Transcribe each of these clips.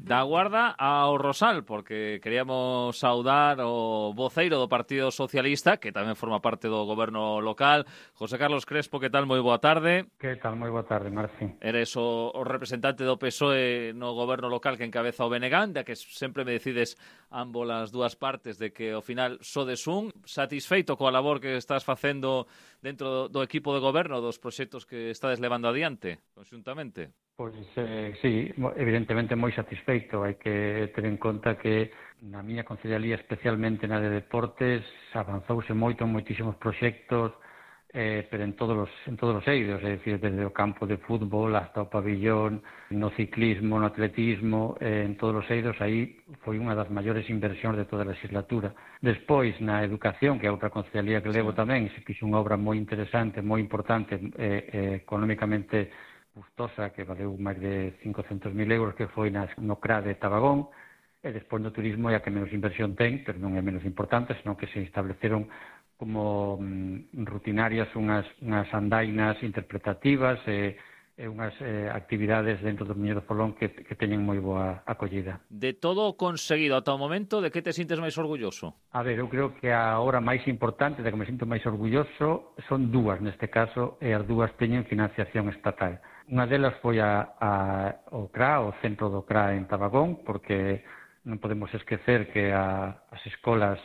Da Guarda ao Rosal, porque queríamos saudar o voceiro do Partido Socialista, que tamén forma parte do goberno local. José Carlos Crespo, que tal? Moi boa tarde. Que tal? Moi boa tarde, Marci. Eres o representante do PSOE no goberno local que encabeza o Benegán, da que sempre me decides ambos as dúas partes de que ao final sodes un. Satisfeito coa labor que estás facendo dentro do equipo de goberno, dos proxectos que estades levando adiante, conxuntamente? Pois, sí, evidentemente moi satisfeito. Hai que ter en conta que na miña concellería, especialmente na de deportes, avanzouse moito en moitísimos proxectos, pero en todos os eidos, é dicir, desde o campo de fútbol hasta o pabillón, no ciclismo, no atletismo, en todos os eidos, aí foi unha das maiores inversións de toda a legislatura. Despois, na educación, que é outra concellería que levo tamén, se fixo unha obra moi interesante, moi importante, económicamente custosa, que valeu máis de 500.000 euros, que foi no CRA de Tabagón, e despois no turismo é a que menos inversión ten, pero non é menos importante, senón que se estableceron como rutinarias unhas andainas interpretativas e unhas actividades dentro do Miño do Folón que teñen moi boa acollida. De todo o conseguido ata o momento, de que te sintes máis orgulloso? A ver, eu creo que a obra máis importante, de que me sinto máis orgulloso, son dúas neste caso, e as dúas teñen financiación estatal. Unha delas foi o CRA, o centro do CRA en Tabagón, porque non podemos esquecer que as escolas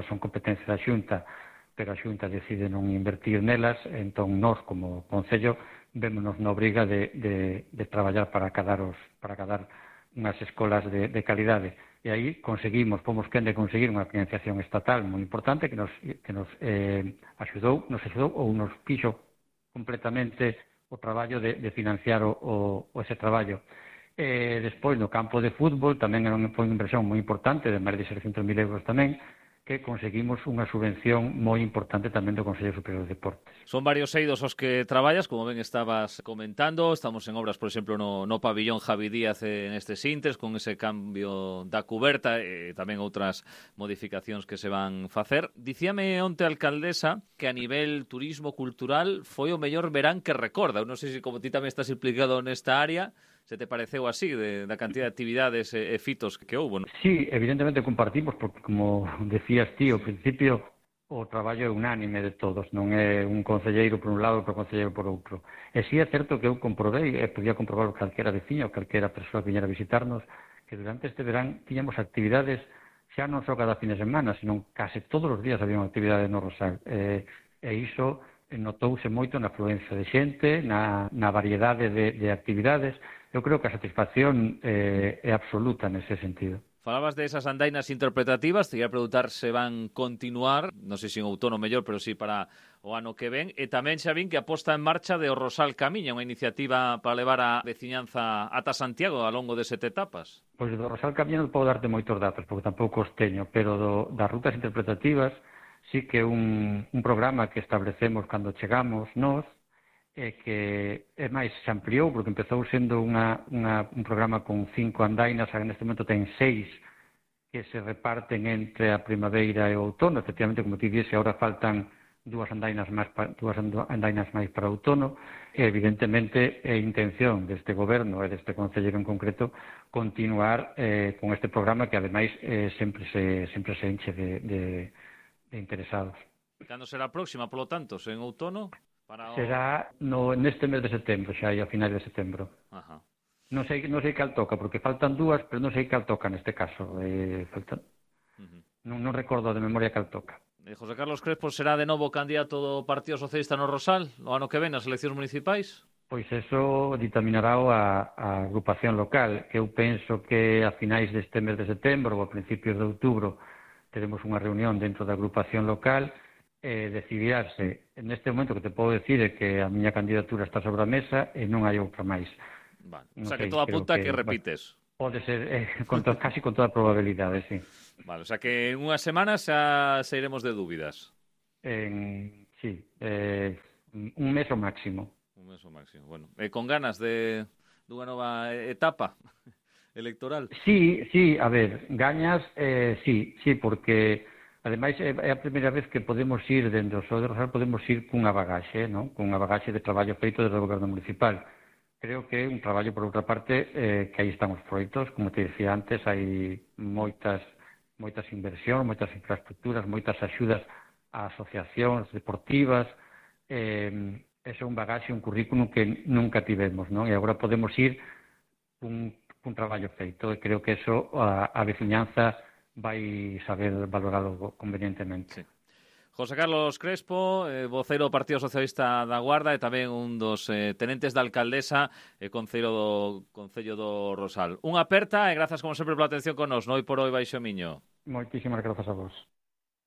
son competencia da Xunta, pero a Xunta decide non invertir nelas, entón nós, como Concello, vémonos na obriga de traballar para cadar unhas escolas de calidade. E aí fomos quen de conseguir unha financiación estatal moi importante que nos axudou ou nos fixo completamente o traballo de financiar ese traballo. Despois, no campo de fútbol, tamén foi unha inversión moi importante, de máis de 600.000 euros tamén, que conseguimos unha subvención moi importante tamén do Consello Superior de Deportes. Son varios eidos os que traballas, como ben estabas comentando. Estamos en obras, por exemplo, no pabillón Javi Díaz nestes intres, con ese cambio da cuberta e tamén outras modificacións que se van facer. Dicíame onte a alcaldesa que a nivel turismo cultural foi o mellor verán que recorda. Eu non sei se como ti tamén estás implicado nesta área, se te pareceu así, da cantidad de actividades e fitos que houve, non? Sí, evidentemente compartimos, porque como decías ti, ao principio o traballo é unánime de todos, non é un concelleiro por un lado e outro concelleiro por outro. E si é certo que eu comprovei, e podía comprobar calquera veciño ou calquera persoa que viñera a visitarnos, que durante este verán tiñamos actividades xa non só cada fin de semana, senón case todos os días había unha actividade no Rosal. E iso notouse moito na afluencia de xente, na variedade de actividades. Eu creo que a satisfacción é absoluta nese sentido. Falabas de esas andainas interpretativas, te ia preguntar se van continuar, non sei se en outono mellor, pero sí para o ano que ven, e tamén xa vin que aposta en marcha de o Rosal Camiña, unha iniciativa para levar a veciñanza ata Santiago ao longo de 7 etapas. Pois do Rosal Camiña non podo darte moitos datos, porque tampouco os teño, pero das rutas interpretativas sí que un programa que establecemos cando chegamos nós, que é máis, se ampliou, porque empezou sendo un programa con 5 andainas, neste momento ten 6 que se reparten entre a primavera e o outono. Efectivamente, como ti dixes, agora faltan dúas andainas máis para o outono, e evidentemente é intención deste goberno e deste concelleiro en concreto continuar con este programa que ademais sempre se enche de interesados. Cando será a próxima, polo tanto, en outono? Será neste mes de setembro, xa a finais de setembro. Ajá. Non sei cal toca, porque faltan dúas, pero non sei cal toca neste caso. Non recordo de memoria cal toca. José Carlos Crespo será de novo candidato do Partido Socialista no Rosal o ano que ven nas eleccións municipais? Pois eso ditaminará a agrupación local, que eu penso que a finais deste mes de setembro ou a principios de outubro teremos unha reunión dentro da agrupación local decidirse. Neste momento que te podo decir é que a miña candidatura está sobre a mesa e non hai outra máis. Vale. O sea, que todo apunta que repites. Pode ser, casi con toda probabilidade, sí. Vale, o sea que en unhas semanas xa sairemos de dúbidas. Sí, un mes o máximo. Un mes o máximo, bueno. Con ganas dunha nova etapa electoral? Sí, a ver, gañas, sí, porque ademais é a primeira vez que podemos ir dende o Só de Rosal, podemos ir cunha bagaxe, non? Cunha bagaxe de traballo feito desde o goberno municipal. Creo que é un traballo, por outra parte, que aí están os proxectos, como te dicía antes, hai moitas inversións, moitas infraestructuras, moitas axudas a asociacións deportivas, ese é un bagaxe, un currículum que nunca tivemos, non? E agora podemos ir un traballo feito, e creo que eso a veciñanza vai saber valoralo convenientemente. Sí. José Carlos Crespo, voceiro do Partido Socialista da Guarda e tamén un dos tenentes da alcaldesa e concello do Concello do Rosal. Unha aperta e grazas como sempre pola atención con nos, noi por hoy Baixo Miño. Moitísimas grazas a vos.